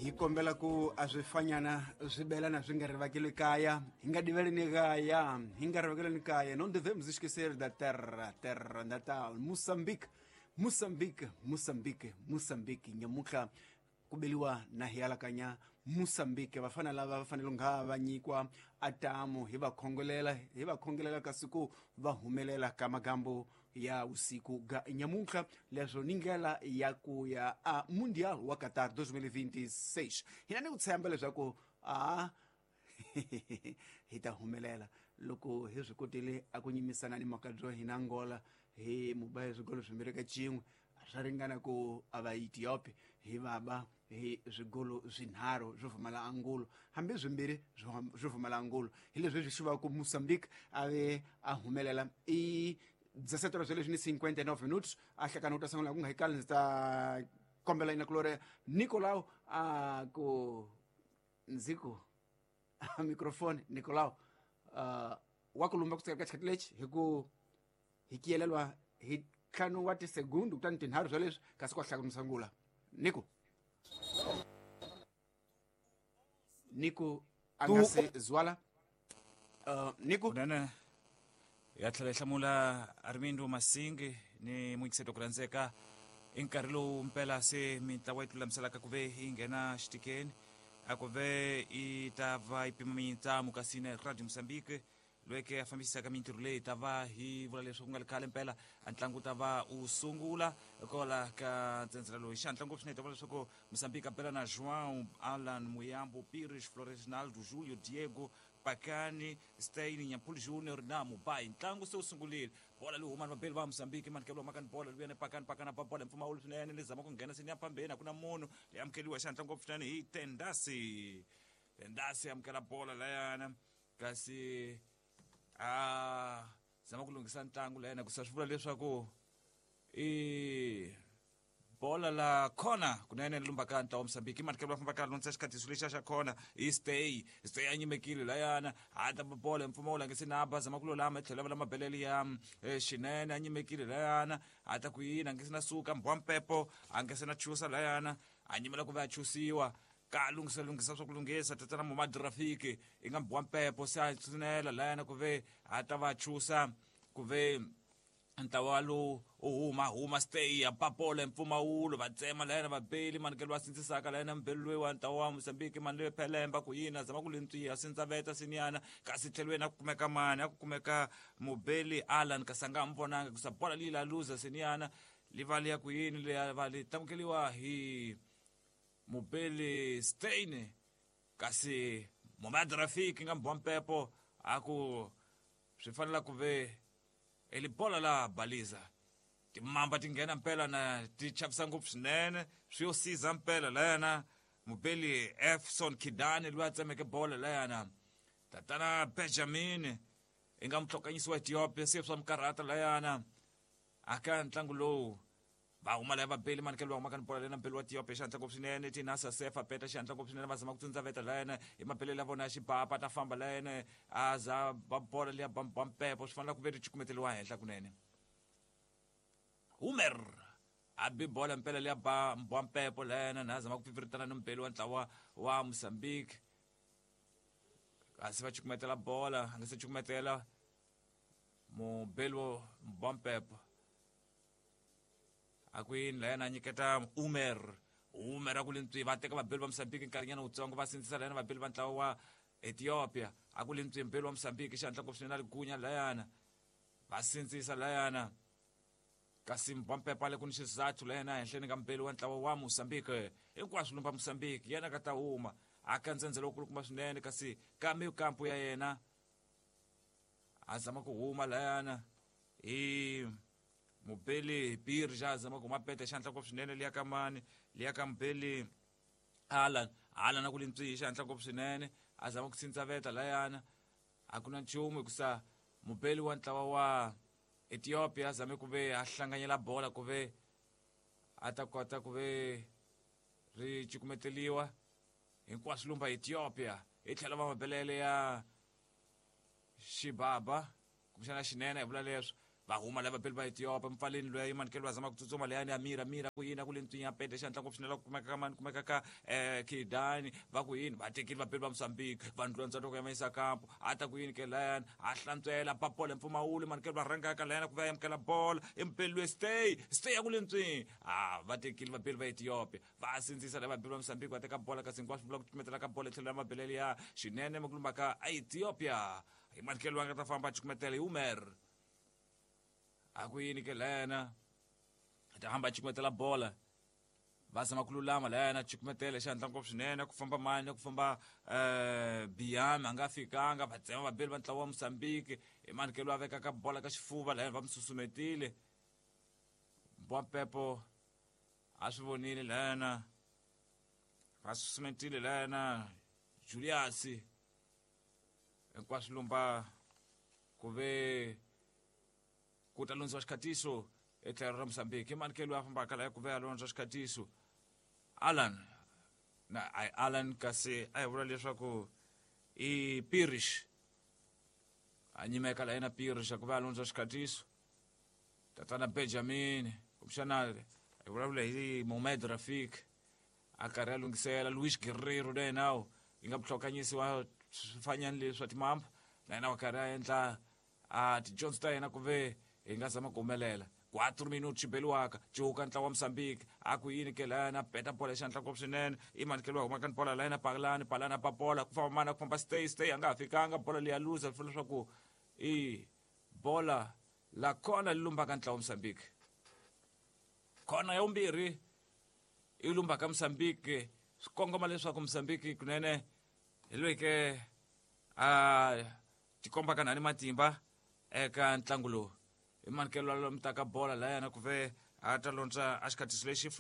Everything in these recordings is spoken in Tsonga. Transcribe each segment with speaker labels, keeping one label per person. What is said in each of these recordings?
Speaker 1: Hi kombela ku a swi fanyana swi belana swi nga rivakeli kaya, hi nga diveleni kaya, hi nga rivakeleni kaya. Não devemos esquecer da terra, terra natal, Moçambique, Moçambique, Moçambique, Moçambique. Nyamutlha ku beliwa na hi alakanya Moçambique. Vafana lava va fanele nga va nyikiwa atamu, hi va khongolela, hi va khongelela kasi ku va humelela ka magambo ya usiku ga nyamuntlha. Leswo ni ndlela ya ku ya a Mundial wa Qatar 2026. Hina ni ku tshemba leswaku a hi ta humelela loko hi swi kotile a ku nyimisana ni makabyo hina Angola hi muba swigolo swimbirhi ka xin'we, swa ringana ku a va Ethiopia hi vaba hi swigolo swinharhu swo pfumala angulo, hambi swimbirhi swo pfumala angulo. Hi leswi swi xivaka ku Mozambique a ve a humelela. I 17 horas leswi ni 59 minutos a hlakana u ta sungula ku nga hi kali. Ndzi ta kombela ina kulore Nicolau a ku ndzi ku microphone Nicolau wa ku lumba kusuka ka xikhathi lexi hi ku hi kiyelelwa hi ntlhanu wa tisegundu kutani tinharhu swa leswi kasi kwa hlakana sangula. Nico, Nico a nga se zwala. Nico.
Speaker 2: Kunene ya tlhela yi hlamula Armindo Masingi ni muyingiseti ku rhandzeka. I nkarhi lowu mpela se mintlawa yi tilulamiselaka ku ve yi nghena xitikeni, a ku ve yi ta va yi pima mintsamo. Kasi na Radio Mozambique loyi a fambisaka mintirho leyi ta va hi vula leswi ku nga ri khale mpela a ntlangu wu ta va wu sungula kola ka ntsenzela loyi xihatla ngopfu swinene. Ta vula leswaku Mozambique a bela na João Alan Muyambo, Pires, Floresnaldo, Julio, Diego, Pakani, Stein, Nyampul Junior na Mubai. Ntlangu se wu sungurile. Bola leyi huma ni vabeli va Mozambique manikelo makani bola luya ni Pakani. Pakani a ba bola hi mpfumawulo swinene, ni zama ku nghena seni ya phambeni, a ku na munhu. Leyi amukeliwa xihatla ngopfu swinene hi Tendasi. Tendasi amukela bola layana, kasi a zama ku lunghisa ntlangu layana, ku sa swi vula leswaku i bola la khona kunene lumbaka ntlawa Mozambique. Manikelo va fambaka lundzisa xikhatiso lexiya xa khona i Stay. Stay a nyimekile layana, a ta bola hi mpfumawulo, a nge se na ba, zama ku lulama hi tlhelo va la mabelele ya xinene, a nyimekile layana, a ta ku yini, a nge se na suka mbwa mpepo, a nge se na chusa layana, a nyimela ku va a chusiwa ka lunghisa lunghisa swa ku lunghisa. Tatana Momad Rafiki i nga mbwa mpepo se a tshinela layana ku ve a ta va chusa ku ve ntlawa lowu u huma huma. Stay ya papola mpfumawulo, va tsema layena vabeli manikelo va sindzisaka layena mbeli loyi wa ntlawa wa Mozambique mani leyo phelemba ku yini, a zama ku lentswiya sindzaveta siniyana, kasi tlhelweni a ku kumeka mani, a ku kumeka mubeli Alan, kasi a nga ha mi vonanga kusa bola leyi la luza siniyana li va liya ku yini leya va li tamukeliwa hi mubeli Stein, kasi Momad Rafiki nga mbwa mpepo a ku swi fanela ku ve eli bola la baliza. Timamba ti nghena mpela na ti chavisa ngopfu swinene, swi yo siza mpela layana mubeli Efson Kidani loyi a tsemeke bola layana. Tatana Benjamin i nga muhlokanyisi wa Ethiopia se swa mikarhata layana aka ntlangu lowu. Va huma laya vabeli manikelo va humaka ni bola lena mbeli wa Ethiopia xihatla ngopfu swinene. Tinasa Sefa peta xihatla ngopfu swinene, va zama ku tsundzaveta layena hi mabelelo ya vona ya xibapa, ta famba layena a za ba bola liya ba mpepo, swi fanele ku ve ri cukumeteliwa henhla kunene. Humer a bi bola mpela liya ba mbwa mpepo layena na zama ku pfipfiritana ni mbeli wa ntlawa wa Mozambique, kasi va cukumetela bola, a nga se cukumetela mubeli wo mbwa mpepo a ku yini layena a nyiketa Umer. Umer a ku lintswi, va teka vabeli va Mozambique nkarhinyana wutsongo, va sindzisa layena vabeli va ntlawa wa Ethiopia, a ku lintswi mbeli wa Mozambique xihatla ngopfu swinene a li gunya layana, va sindzisa layana, kasi mbwampepa le ku ni xizathu layena ehenhleni ka mbeli wa ntlawa wa Mozambique. Hinkwaswo lumba Mozambique yena ka ta huma aka ndzhendzelo wukulukumba swinene, kasi ka mikampu ya yena a zama ku huma layana hi mubeli Birja, zama ku huma pete xandla ngopfu swinene liya ka mani, liya ka mubeli Alan. Alan a ku lintswihi xandla ngopfu swinene, a zama ku sindzaveta layana, a ku na nchumu hikusa mubeli wa ntlawa wa Ethiopia a zame ku ve a hlanganyela bola ku ve a ta kota ku ve ri cukumeteliwa. Hinkwaswo lumba Ethiopia hi tlhelo va mabelele ya xibaba kumbexana xinene, hi vula leswo. Va huma lava beli va Ethiopia mpfaleni loyi manikelo va zama ku tsutsuma leyani ya mira mira ku yini ku le ntswinya pete xandla ngopfu swinene ku kumeka ka mani kumeka ka Kidani va ku yini va tekile vabeli va Mozambique va ndlondza loko ya mayisa kampo a ta ku yini ke layani a hlantswela ba bola mpfumawulo manikelo va rhanga ka layani ku va amukela bola impeli loyi stay stay ya ku le ntswini a va tekile vabeli va Ethiopia va sindzisa lava vabeli va Mozambique va teka bola kasi hinkwaswo vula ku cukumetela ka bola etlhelo ra mabelele ya xinene makulumba ka Ethiopia hi manikelo va nga ta famba cukumetela hi Umer a ku yini ke lena ta hamba cukumetela bola va zama ku lulama layana cukumetela xandla ngopfu swinene ku famba mani ku famba Biami a nga fikanga va tsema vabeli va ntlawa wa Mozambique hi manikelo a vekaka bola ka xifuva layana va mi susumetile Mbwampepo a swi vonile layana va susumetile layana Julius hinkwaswo lumba ku ve ku ta lundziwa xikhatiso etlhelo ra Mozambique i manikelo a fambaka laha ku ve a londza xikhatiso Alan na ai Alan kasi a hi vula leswaku i Pirish a nyimeka la yena Pirish ku ve a londza xikhatiso tatana Benjamin kumbexana hi vulavula hi Mohamed Rafik a karhi a lunghisela Luis Guerrero na yena yi nga vuhlokanyisi wa swifanyani leswi swa timamba na yena wa karhi a endla a tidyondzo ta yena ku ve hi nga zama ku humelela 4 minutos xibeliwaka cuka ntlawa wa Mozambique a ku yini ke layana peta bola xandla ngopfu swinene i manikelo wa huma ka bola layana palani palani pa bola ku famba mana ku famba stay stay a nga ha fikanga bola leyi ya luza swi leswaku i bola la kona li lumbaka ntlawa wa Mozambique khona ya vumbirhi i lumbaka Mozambique swi kongoma leswaku Mozambique kunene hi loyi ke a tikomba ka nani matimba eka ntlangu lowu i manikelo lomu taka bola layana ku ve a ta londza a xikhatiso lexi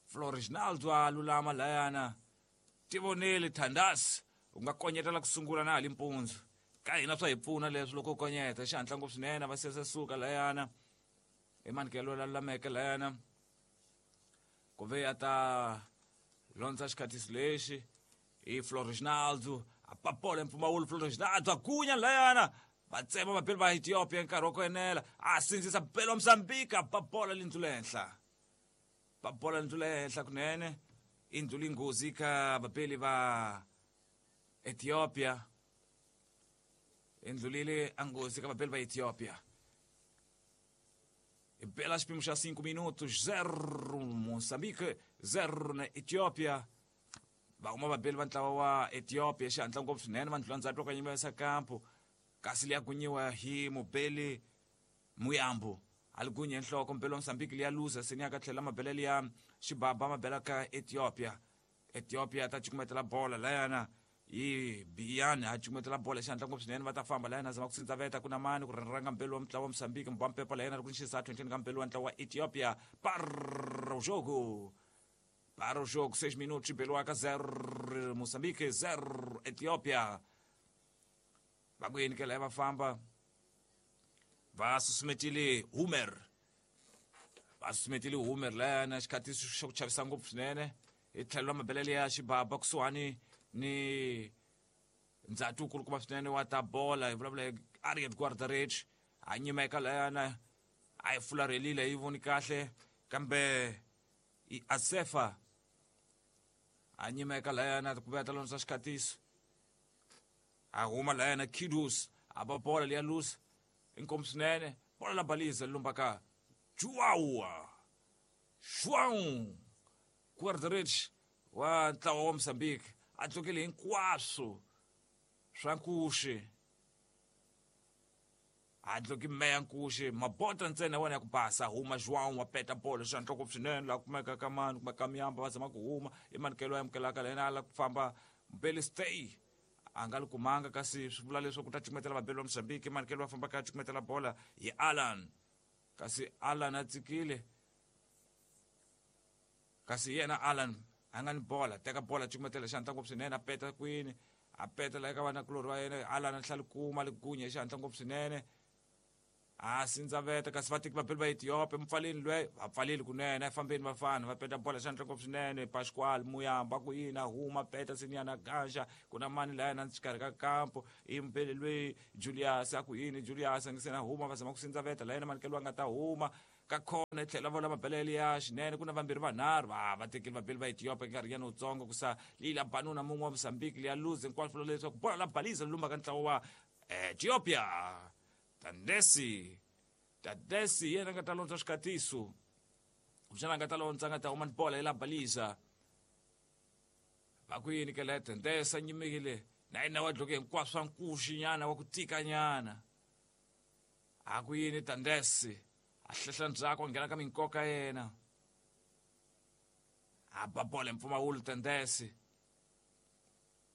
Speaker 2: Floriginaldo a lulama layana tivoneli Thandas u nga konyetela ku sungula na hali mpundzu ka hina swa hi pfuna leswi loko u konyeta xihatla ngopfu swinene va sese suka layana i manikelo la lulameke layana ku ve a ta londza xikhatiso lexi i Floriginaldo a papola mpfumawulo Floriginaldo a gunya layana va tsema vabeli va Ethiopia nkarhi wa ku enela a sindzisa belo wa Mozambique a ba bola lindlu le henhla ba bola lindlu le henhla kunene i ndluli nghozi ka vabeli va Ethiopia i ndlulile a nghozi ka vabeli va Ethiopia i bela xipimo xa 5 minutos 0 Mozambique 0 na Ethiopia va huma vabeli va ntlawa wa Ethiopia xihatla ngopfu swinene va ndlula ndzhaku loko nyimesa kampo kasi liya gunyiwa hi mubeli Muyambo a li gunye nhloko mubeli wa Mozambique liya luza seni ya ka tlhela mabelele ya xibaba mabela ka Ethiopia Ethiopia ta cukumetela bola layana hi Biyani a cukumetela bola xihatla ngopfu swinene va ta famba layana zama ku sindzaveta ku na mani ku ranga mbeli wa mutlawa wa Mozambique mbampepa layana ri ku xisa 20 ka mbeli wa ntlawa wa Ethiopia para o jogo Para o jogo, 6 minutos, Beluaca 0, Moçambique 0, Etiópia. Va ku yini ke laya va famba va susumetile Humer va susumetile Humer layana xikhatiso xa ku chavisa ngopfu swinene hi tlhelo ra mabelele ya xibaba kusuhani ni ndzati wu kulukumba swinene wa ta bola hi vulavula hi Ariet Guardarech a nyimeka layana a yi fularhelile yi voni kahle kambe i Asefa a nyimeka layana ku vuya ta londzisa xikhatiso a huma layana Kidus a ba bola liya lusa inkomu swinene bola la baliza lumbaka Joao João Guardarech wa ntlawa wa Mozambique a tlokele hinkwaswo swa nkuxi a dloki meya nkuxi mabota ntsena wona ya ku basa huma João wa peta bolo xa nhloko swinene laha kumeka ka mani kumeka ka miyamba va zama ku huma i manikelo ya amukelaka la yena a la ku famba mbeli stay a nga li kumanga kasi swi vula leswaku ta cukumetela vabeli va Mozambique manikelo va famba ka cukumetela bola hi Alan kasi Alan a tsikile kasi yena Alan a nga ni bola teka bola cukumetela xandla ngopfu swinene a peta kwini a peta la eka vanakulorhi va yena Alan a tlhela kuma li gunya xandla ngopfu swinene A sindzaveta kasi vateki vabeli va Ethiopia mupfaleni lwe va pfaleli kunene a fambeni vafana va peta bola xandla ngopfu swinene Pascual Muyamba ku yini a huma peta Sinyana Gansha ku na mani laya na xikarhi ka kampo i mupeli lweyi Julius a ku yini Julius a nge se na huma va zama ku sindzaveta la yena manikelo a nga ta huma ka khona i tlhela vola mabelele ya xinene ku na vambirhi vanharhu va va tekeli vabeli va Ethiopia nkarhinyana wutsongo ku sa lila banuna mun'we wa Mozambique liya luze hinkwaswo vula leswaku bola la baliza lumba ka ntlawa wa Ethiopia. Tandesi Tandesi yena nga ta londza swikatiso kumbexana a nga ta londza a nga ta huma ni bola yi la balisa va ku yini ke la Tandesi a nyimekile na yena wa dloke hinkwaswo swa nkuxi nyana wa ku tika nyana a ku yini Tandesi a hlehla ndzhaku a nghena ka minkoka yena a ba bola hi mpfumawulo Tandesi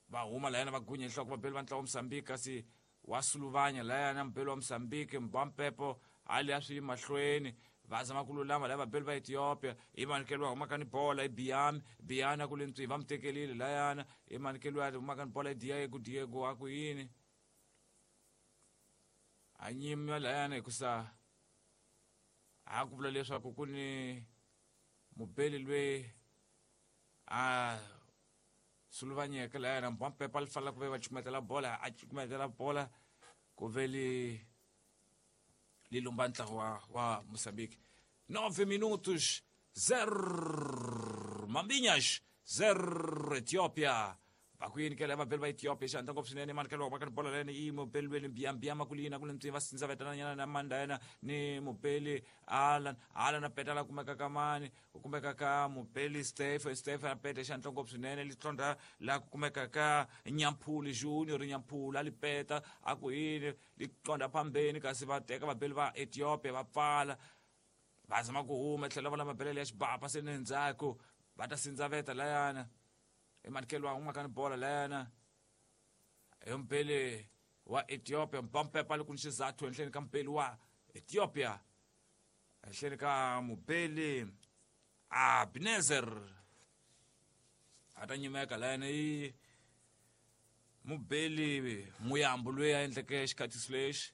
Speaker 2: va huma layana va gunya nhloko vabeli va ntlawa wa Mozambique kasi wa suluvanya layana mubeli wa Mozambique Mbampepo hali a swi yi mahlweni va zama ku lulama laya vabeli va Ethiopia i manikelo wa humaka ni bola i Biami Biani a ku le ntswi va mu tekelile layana i manikelo ya humaka ni bola i Diego Diego a ku yini a nyima layana hikusa a ku vula leswaku ku ni mubeli lweyi a suluvanyeke layana Mbampepo a li fanela ku ve va cukumetela bola a cukumetela bola ku ve li li lumba ntlawa wa Mozambique. 9 minutos 0 Mambinhas 0 Ethiopia. Va ku yini ke lava vabeli va Ethiopia xandla ngopfu swinene manikelo wa ka bola lena i mubeli lweni mbiyambiyama ku lina ku le ntswi va sindza vetana nyana na manda yena ni mubeli Alan Alan a petala kumeka ka mani ku kumeka ka mubeli Stephen Stephen a peta xandla ngopfu swinene litlondra la ku kumeka ka Nyamphuli Junior Nyamphuli a li peta a ku yini liqonda phambeni kasi va teka vabeli va Ethiopia va pfala va zama ku huma tlhela va la mabelele ya xibapa se ni ndzhaku va ta sindzaveta layana emanikelo wa humaka ni bola layana hi mubeli wa Ethiopia Mpampepa li ku ni xizathu henhleni ka mubeli wa Ethiopia henhleni ka mubeli Abnezer a ta nyimeka layana i mubeli Muyambo loyi a endleke xikhatiso lexi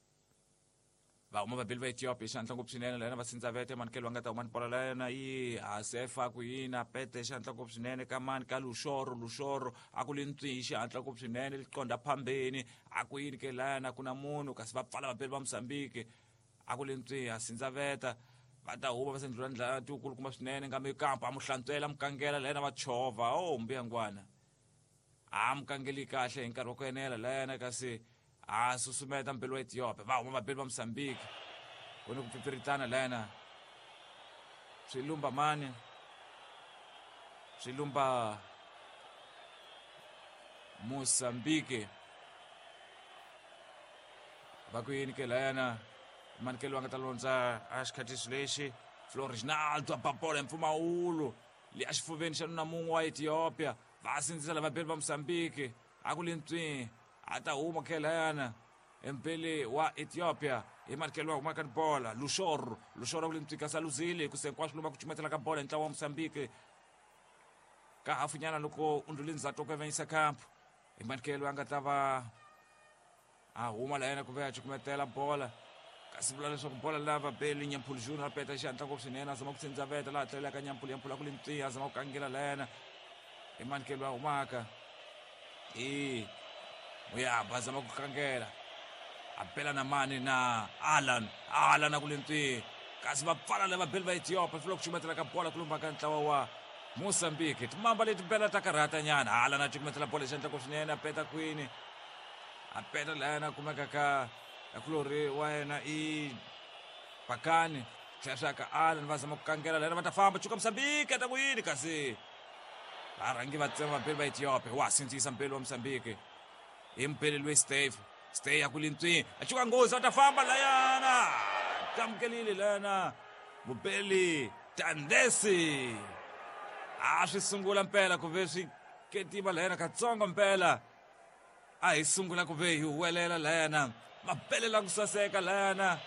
Speaker 2: va huma vabeli va Ethiopia xandla ngopfu swinene layana va sindzavete manikelo va nga ta huma ni bola layana yi Hasefa ku yini a pete xandla ngopfu swinene ka mani ka Luxoro Luxoro a ku li ntswi xihatla ngopfu swinene liqonda phambeni a ku yini ke layana ku na munhu kasi va pfala vabeli va Mozambique a ku li ntswi a sindzaveta va ta huma va sendlula ndlela tikulukumba swinene ngambe kampa a mu hlantswela mukangela layana va chovha o mbuyangwana a mukangeli kahle hi nkarhi wa ku enela layana kasi a susumeta mpelo wa Ethiopia va huma vabeli va Mozambique ku ni ku pfipfiritana layana swi lumba mani swi lumba Mozambique va ku yini ke layana manikelo va nga ta londza a xikhatiso lexi Florinaldo a ba bola hi mpfumawulo le a xifuveni xa nuna mun'we wa Ethiopia va sindzisa lava beli va Mozambique a ku le ntswi a ta huma khelayana empeli wa Ethiopia hi manikelo wa humaka ni bola Luxoro Luxoro a ku le ntswi kasi a luzile ku se hinkwaswo lomu ku cumetela ka bola hi ntlawa wa Mozambique ka hafunyana loko u ndlule ndzhaku ku avanyisa kampu hi manikelo a nga ta va a huma la yena ku ve a cukumetela bola kasi vula leswaku bola la vabeli Nyampulu Junior a peta xihatla ngopfu swinene a zama ku tsindzaveta laha tlelelaka Nyampulu Nyampulu a ku le ntswi a zama ku kangela la yena hi manikelo a humaka i Muyamba a zama ku kangela a bela na mani na Alan Alan a ku le ntswi kasi va pfala lava beli va Ethiopia swi vula ku cukumetela ka bola ku lumba ka ntlawa wa Mozambique timamba leti bela ta karhata nyana Alan a cukumetela bola xandla ngopfu swinene a peta kwini a peta la yena a kumeka ka kulori wa yena i Bakani tlhela swi ya ka Alan va zama ku kangela la yena va ta famba chuka Mozambique a ta ku yini kasi varhangi va tsema vabeli va Ethiopia wa sindzisa mbeli wa Mozambique hi mubeli loyi Steve Stay ya ku le ntswini a chuka nghozi va ta famba layana tamukelile layana mubeli Tandesi a swi sungula mpela ku ve swi ketima layana katsongo mpela a hi sungula ku ve hi huwelela layana mabele la ku saseka layana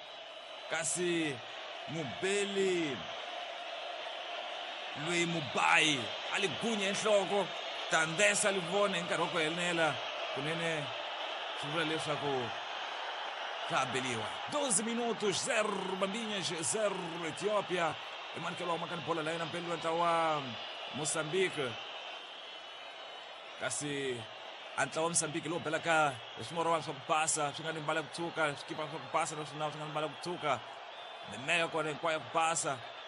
Speaker 2: kasi mubeli loyi mubayi a li gunya enhloko Tandesa li vona hi nkarhi wa ku enela kunene swi vula leswaku Swa ha beliwa 12 minutos, 0 Bambinhas, 0 Etiópia. Emanuel wa makani bola la yena mpelelo ntlawa wa Moçambique. Kasi a ntlawa wa Moçambique lowu belaka hi swimorwana swa ku basa swi nga ni mbala ku tshuka, swikipa swa ku basa naswona swi nga ni mbala ku tshuka, mimeya kona hinkwayo ya ku basa.